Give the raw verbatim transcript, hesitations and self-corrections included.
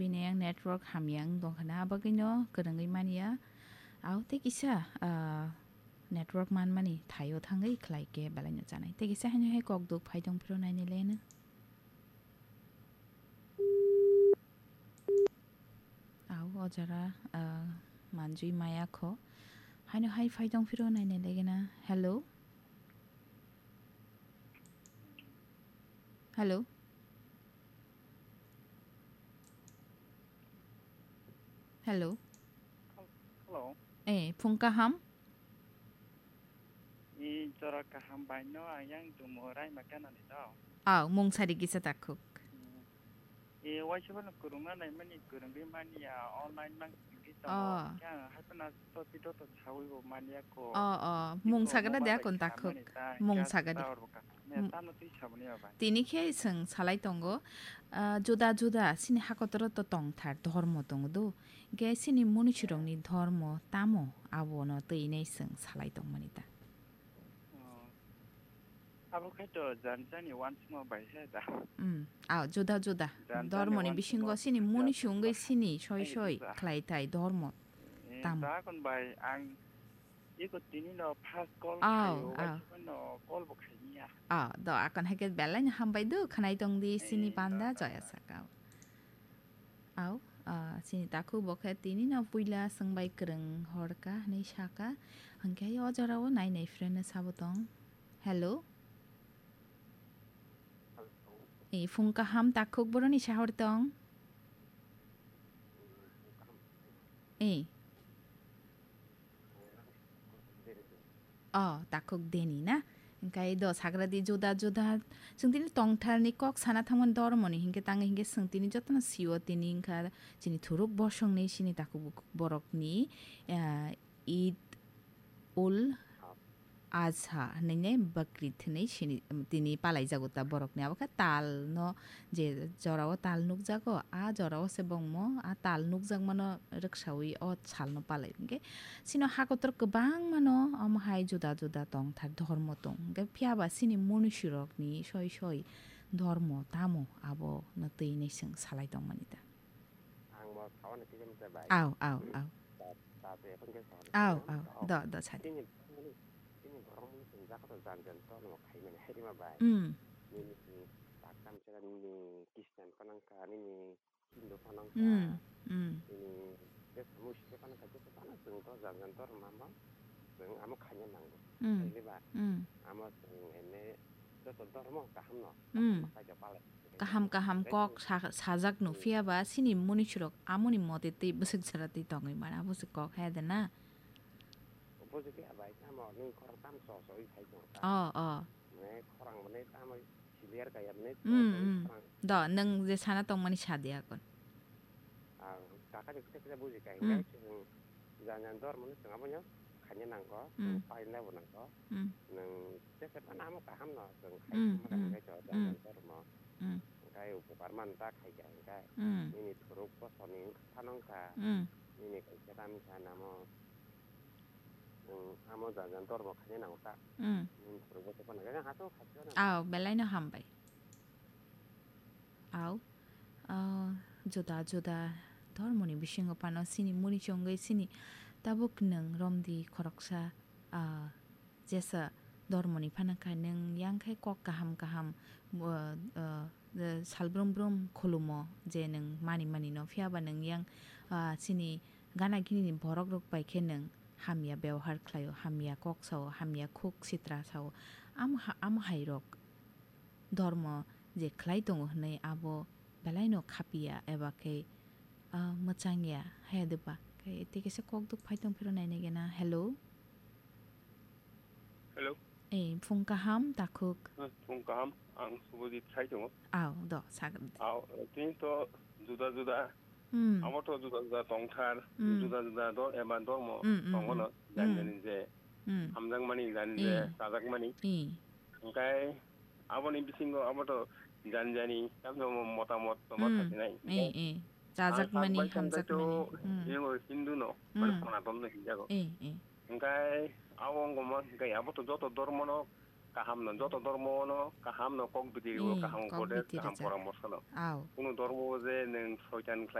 Bini yang network hamya wng tongkha na, abagwino kwrwngwi manya. Au tei kisa, ah, network manmani thaio thangwi khlai khe belai no chanai. Tei kisa haino hai kok duk phai tong phiro nainai le no. Au o jora, ah, manjui maya kho. Haino hai phai tong phiro nainai le gena. Hello? Hello? Hello? Hello. Eh, phung kaham? I jora kaham bai no ayang jumo rai ma kana ni do. Au, mung sari kisa takhuk. Hmm. E, waisa phano kwrwngna naimani kwrwngwi manya, online mang kwrwngwi tongo. Oh. Khe ang hai phano to pito to sawi bo manya ko. Oh, oh. Mung sagra de akon takhuk. Mung sagra de. Tamo twi saboni ya bai. Tini khe swng salai tongo. Ah, juda juda sini hakotoro to tongthar dhormo tongo do. Ge sini munisirokni dhormo tamo abono twi nei swng salai tongmani ta. Oh. Abo khai to jani jani wansukma bai he da. Mm. Ah, juda juda. Jani jani dhormoni wansukma bisingo sini muni sungwi sini soi soi khlai thai dhormo. Eh, tamo. Dakon bai ang iko tini no first call khayo, bai sima no call bo khaini ya. Ah, do akon hai khe belai no hambai do khnai tong di sini panda joya saka. Au, ah, sini takhuk bo khe tini no puila swngbai kwrwng horka hwnwi saka. Hwnkhe o jorao nainai friend no sabo tong. Hello? Hello. Eh, phung kaham takhuk boroni sahor tong. Eh. Oh, takhuk deni na? Hingkai do sagra di juda juda. Chwng tini tongtharni kok sana thangmani dormoni hingke tangi hingke chwng tini jotono siwo tini hingka chini thuruk bosongni sini takhuk borokni, ah, Eid ul Azha hwnwi ne Bakrid hwnwi sini, tini palaijago ta borokni. Abo khe tal no je jorao tal nukjago, a jorao se bongmo a tal nukjakmano rwksaui o salno palai. Hingke sino hakotor kwbangmano omo hai juda juda tongthar dhormo tong. Hingke phiyaba sini munisirokni soi soi dhormo tamo abono twi hinwi chwng salai tongmani ta. Ang bo sawan ni kisa misa bai. Au, au, au. Ta, ta te ekhon khe sawan ni kisa misa. Au, au. Do, do, sadi. Tini, tini borok mung sung jaga to jan jan to no khai mani hai rima bai. Mm. Nini tak tam sera nini Christian ko nang kha, nini Hindu ko nang kha. Mm, mm. Nini je samu sise ko nang kha, je ko nang sung to jan jan to rima ma. Chwng amo khaina nango. Mm. Khaili ba? Mm. Amo chwng ene joto dhormo kaham no. Mm. Kaham kaham kok sa-, sajak no phiya ba sini munisirok amoni mote tei bwswk jora tei tongwi mana bwswk kok he de na. Bwswk phiya bai tamo nung khorang tam so so wi phai tong ta. Oh, oh. Mane khorang mane tamo Clear kaya mane. Mm, mm. Do, nwng je sana tongmani sadi akon. Ah, kaka je kisa kisa buji kai. Mm. Ngai chwng jan jan dor mani chwng abono khaina nango, mm, paina bo nango. Mm. Nwng je se pana amo kaham no chwng khai, mm, khai, mm, khai to jan jan dor mo. Mm. Ngai upokar man ta khai kha ngai. Mm. Nini thuruk bosoni thanong kha. Mm. Nini kaisa ram kha namo. Nwng amo jan jan dor bo khaina nango ta. Mm. Nwng thuruk bosoni phano kha, kha to kha to na. Aw, belai no hambai. Au, ah, juda juda dhormoni bisingo phano sini muni chongwi sini tabuk nwng romdi khoroksa, ah, jesa dhormoni phano kha nwng yang khe kok kaham kaham, ah, ah, salbrum brum khulumo je nwng mani mani no phiya ba nwng yang, ah, sini gana gini ni borok rok bai khe nwng hamya bebohar khlaio, hamya kok sao, hamya khuk sitra sao, am ha-, am hai rok. Dhormo je khlai tongo hwnwi abo belai no khapiya eba khe, ah, mwchangya haya de ba khe tei kisa kok duk phai tong phiro nainai gena. Hello? Hello? Eh, phung kaham, takhuk. Hmm, phung kaham, ang Subhajit sai tongo. Aw, do, sagam. Aw, tini to juda juda Hmm. Abo to juda juda tongthar, hmm, juda juda do-, eba dormo, hmm, hmm, tongo no, hmm, jani jani je, hmm, hamjakmani, jani je, eh, chajakmani. Eh. Hingkai aboni bisingo abo to jani jani, tamni mo-, motamot tongma, hmm, thasinai. Eh, eh. Chajakmani, ang sak bai tongthai to, hamjakmani. Hmm. Ego Hindu no, mane, hmm, Sonaton no hinjago. Eh, eh. Hingkai abo wngkha ma, hingkai abo to joto dormo no, kaham no, joto dormo no kaham no kok bidi rio, hmm, kaham kok upodesa, bidi kaham rijak, poramorso no. Aw. Kunu dormo je nwng soitan khlai